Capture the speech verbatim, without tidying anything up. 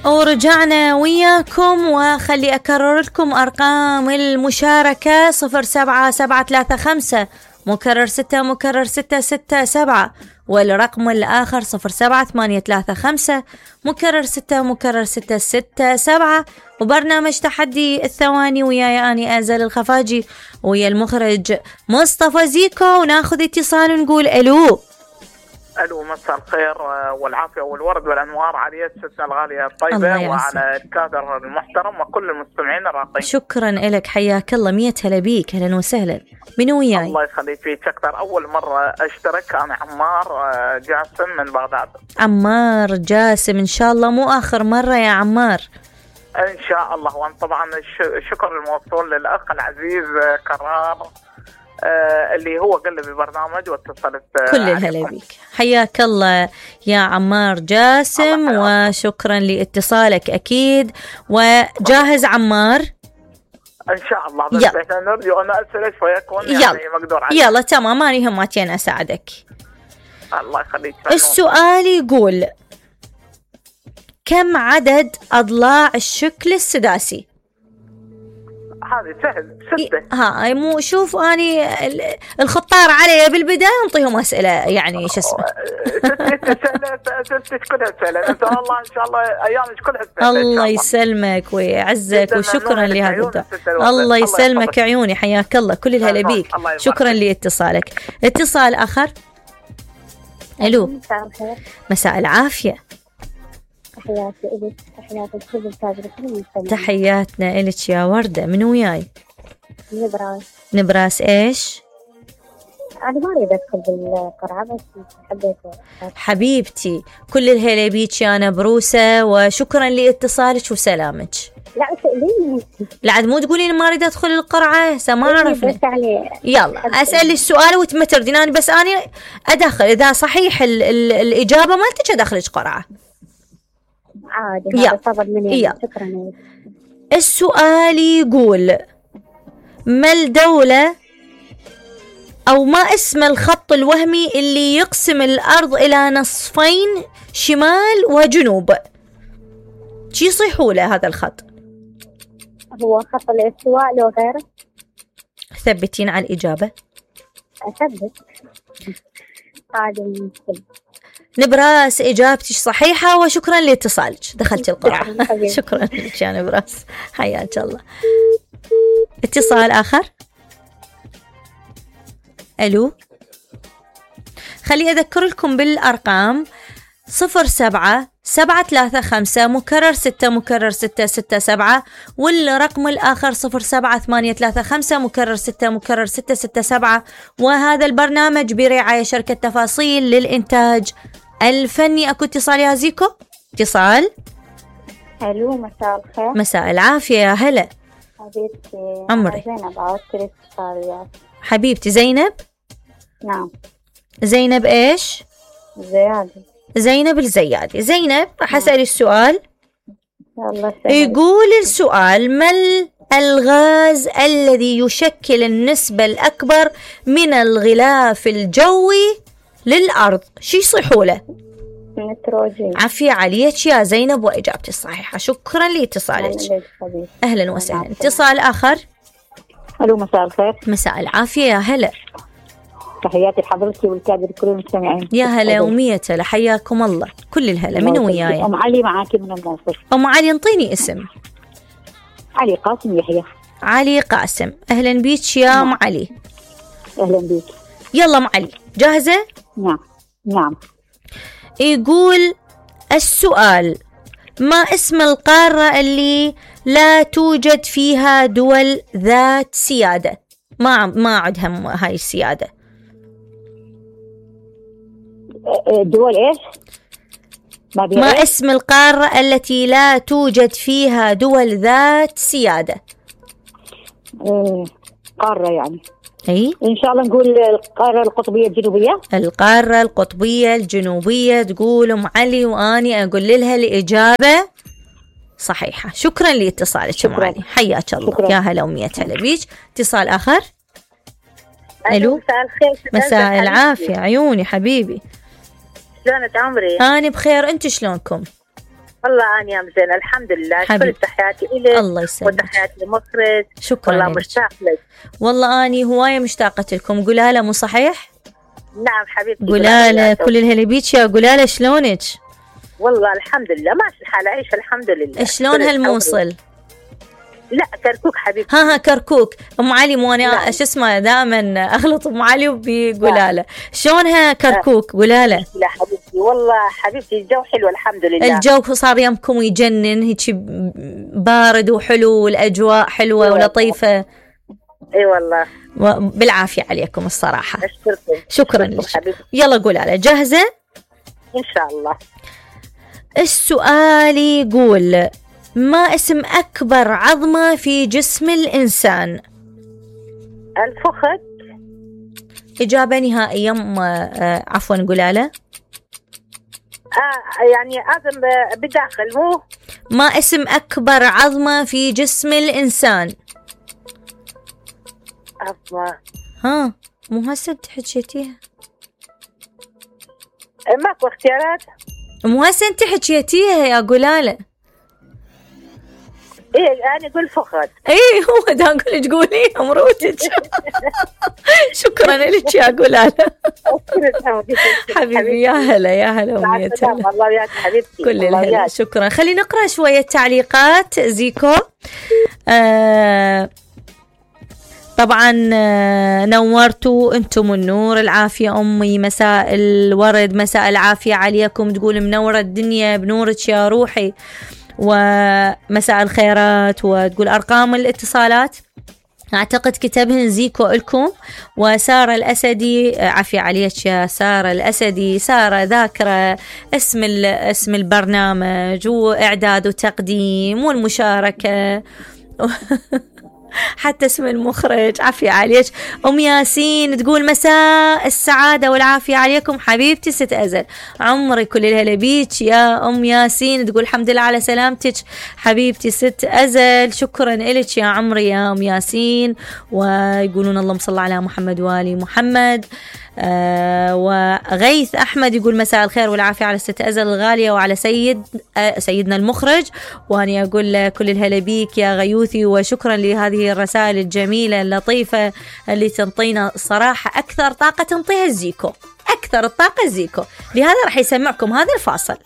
ورجعنا وياكم، وخلي أكرر لكم أرقام المشاركة: صفر سبعة سبعة ثلاثة خمسة مكرر ستة مكرر ستة ستة سبعة، والرقم الآخر صفر سبعة ثمانية ثلاثة خمسة مكرر ستة مكرر ستة ستة سبعة. وبرنامج تحدي الثواني وياي أني أزل الخفاجي ويا المخرج مصطفى زيكو، وناخذ اتصال ونقول ألو. ألو، مساء الخير والعافية والورد والأنوار على ستنا الغالية الطيبة وعلى الكادر المحترم وكل المستمعين الراقين. شكرا لك، حياك الله، مية هلا بيك، أهلا وسهلا. من وياي؟ الله يخليك فيك أكثر. أول مرة أشترك، أنا عمار جاسم من بغداد. عمار جاسم، إن شاء الله مو آخر مرة يا عمار. إن شاء الله. وأنا طبعا الشكر الموصول للأخ العزيز كرار آه اللي هو قلب البرنامج واتصلت. آه كل الهلا بيك، حياك الله يا عمار جاسم، وشكرا لاتصالك أكيد. وجاهز عمار؟ إن شاء الله. بس إحنا نرجو أن أسألك فيكون يعني مقدور عليه. يلا تمام، ماني هماتين أساعدك. الله يخليك. السؤال يقول: كم عدد أضلاع الشكل السداسي؟ هذه سهل، ستة. ها مو شوف أني الخطار علي بالبداية نعطيهم أسئلة يعني شو اسمه. ستة كلها سهلة. إن شاء الله إن شاء الله أيامك كلها سهلة. الله يسلمك ويعزك، وشكرا لهذا الدعاء. الله يسلمك عيوني، حياك الله، كل الهلا بيك، شكرا لاتصالك. اتصال آخر. ألو، مساء العافية. تحياتي إلك، تحياتي لكل الكادر، كل المستمعين. تحياتنا إلك يا وردة. من وياي؟ نبراس. نبراس إيش؟ أنا ما أريد أدخل بالقرعة بس حبيت. حبيبتي كل الهلا بيك يا نبروسة، وشكرا لاتصالك وسلامك. لا سأليني. لا عاد مو تقولين ما أريد أدخل القرعة، ما عرفنا. يعني يلا أسأل السؤال وتما تردين، أنا بس أنا أدخل إذا صحيح ال ال الإجابة مالتك أدخلك قرعة عادي. هذا صبر مني. شكرا. السؤال يقول: ما الدولة أو ما اسم الخط الوهمي اللي يقسم الأرض إلى نصفين شمال وجنوب؟ شي يصيحوا له هذا الخط؟ هو خط الاستواء لو غيره؟ ثبتين على الإجابة. أثبت. عادي. نبراس إجابتك صحيحة، وشكرا لاتصالك، دخلت القرعة. شكرا لك يا نبراس، حياك الله. اتصال آخر. ألو، خلي أذكر لكم بالأرقام: صفر سبعة سبعة ثلاثة خمسة مكرر ستة مكرر ستة ستة سبعة، والرقم الآخر صفر سبعة ثمانية ثلاثة خمسة مكرر ستة مكرر ستة ستة سبعة. وهذا البرنامج برعاية شركة تفاصيل للإنتاج الفني. أكو اتصال يا زيكو؟ اتصال. ألو، مساء الخير. مساء العافية، يا هلا. حبيبتي عمري. زينب، عودت الاتصال. حبيبتي زينب؟ نعم. زينب إيش؟ زيادة. زينب الزيادي. زينب راح أسأل السؤال. يلا. يقول السؤال: ما الغاز الذي يشكل النسبة الأكبر من الغلاف الجوي للأرض؟ شي يصيحوا له؟ نيتروجين. عافية عليك يا زينب، وإجابتي الصحيحة، شكرا لاتصالك. أهلا وسهلا. اتصال آخر. ألو، مساء الخير. مساء العافية، يا هلا. تحياتي لحضرتك والكادر كل المستمعين. يا هلا ومية هلا، حياكم الله، كل الهلا. من وياي؟ أم علي معاكي من الموصل. أم علي، انطيني اسم. علي قاسم يحيى. علي قاسم، أهلا بيك يا أم علي. أهلا بيك. يلا أم علي، جاهزة؟ نعم نعم. يقول السؤال: ما اسم القارة اللي لا توجد فيها دول ذات سيادة؟ ما ما عندها هاي السيادة. دول إيش؟ ما, ما اسم القارة التي لا توجد فيها دول ذات سيادة؟ إيه قارة يعني. أي إن شاء الله نقول القارة القطبية الجنوبية. القارة القطبية الجنوبية تقول أم علي، وأني أقول لها الإجابة صحيحة. شكرا لاتصالك أم علي، حياك الله. شكرا. يا هلا ومية هلا بيك. اتصال آخر. ألو، مساء الخير. مساء العافية عيوني حبيبي. شلونك عمري؟ أنا بخير، أنت شلونكم؟ والله أنا يا مزين الحمد لله. حبيبي. كل تحياتي إلك. الله يسلمك. وتحياتي لمخرج. شكرا والله لك. مشتاق لك. والله أني هواية مشتاقة لكم. قولالة مو صحيح؟ نعم حبيبتي. قولالة كل الهلا بيك يا قولالة شلونك؟ والله الحمد لله ماشي الحال، عيش الحمد لله. شلون هالموصل؟ لا كركوك حبيبتي. ها ها كركوك. ام علي مو انا نعم. شو اسمه دائما اغلط ام علي وبقولالة. شلونها كركوك؟ قولالة. لا حبيبتي والله حبيبتي الجو حلو الحمد لله. الجو صار يمكم يجنن هيك بارد وحلو والاجواء حلوه أيوة. ولطيفه. اي والله بالعافيه عليكم الصراحه. اشكركم. شكرا لك. يلا قولالة جاهزه؟ ان شاء الله. السؤال يقول ما اسم أكبر عظمة في جسم الإنسان؟ الفخذ. إجابة نهائية. آه عفوا قولالة. آه يعني عظم بداخل مو. ما اسم أكبر عظمة في جسم الإنسان؟ عظمة. ها مو هسه انت حكيتيها. ماكو اختيارات. مو هسه انت حكيتيها يا قولالة. ايه انا اقول فخذ. ايه هو دا اقول تقولي مروتك. شكرا لك يا قولالة. حبيبي يا هلا يا هلا أمنية. الله وياك حبيبتي. كل الهلا. شكرا. خلي نقرأ شوية تعليقات زيكو. آه طبعا نورتوا انتم النور. العافية أمي مساء الورد مساء العافية عليكم. تقول منورة الدنيا بنورك يا روحي ومساء الخيرات. وتقول أرقام الاتصالات أعتقد كتبهن زيكو لكم. وسارة الأسدي عافية عليك يا سارة الأسدي. سارة ذاكرة اسم اسم البرنامج وإعداد وتقديم والمشاركة حتى اسم المخرج. عافية عليك. أم ياسين تقول مساء السعادة والعافية عليكم حبيبتي ست أزل. عمري كل الهلا بيك يا أم ياسين. تقول الحمد لله على سلامتك حبيبتي ست أزل. شكرا إلك يا عمري يا أم ياسين. ويقولون اللهم صل على محمد وآل محمد. آه وغيث أحمد يقول مساء الخير والعافية على ست أزل الغالية وعلى سيد آه سيدنا المخرج. وأنا أقول كل الهلا بيك يا غيوثي. وشكرا لهذه الرسائل الجميلة اللطيفة اللي تنطينا الصراحة أكثر طاقة تنطيها الزيكو. أكثر الطاقة الزيكو. لهذا راح يسمعكم هذا الفاصل.